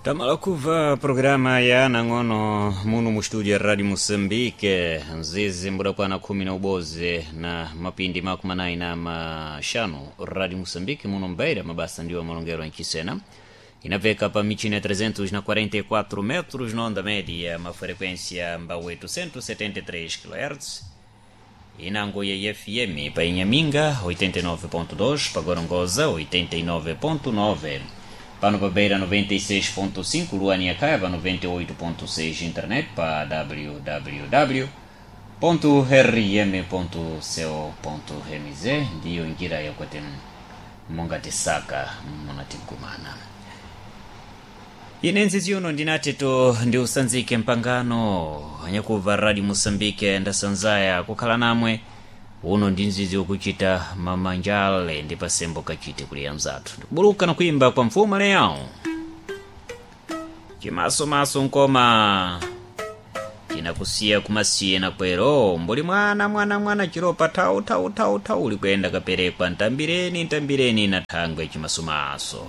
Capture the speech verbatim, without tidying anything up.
Tamala kuva programa ya nang'ono muno mu studio ya Radio Moçambique, nzizi mbudakwana khumi na uboze na mapindi makumi anayi na maxanu. Radio Moçambique muno mbeira, mabasa ndiwo malongero enchisena, inapeka pa michina ya trezentos e quarenta e quatro metros na onda média, ma frequência mba oitocentos e setenta e três quilohertz. Inango ya F M pa Inhaminga oitenta e nove ponto dois, pa Gorongosa oitenta e nove ponto nove, pano pa Beira noventa e seis ponto cinco, Luania Caiaba noventa e oito ponto seis, internet pa w w w ponto r m ponto co ponto m z. Ndiyo njira yakwete mungatisaka munatikumana. Ine nzizi uno ndinateto ndi usanzike mpangano anyakuva Radio Moçambique, ndasanzaya kukhala namwe. Uno ndi nzizi wokuchita mamanjale ndi pasembo kachite kuli anzathu, ndikubuluka na kuimba kwa mfumu leyawo chimasomaso nkoma chinakusiya kumasiye na kwero mbuli mwana mwana mwana chiropa thau thau thau thau uli kuyenda kaperekwa ntambireni ntambireni na thangwe chimasomaso.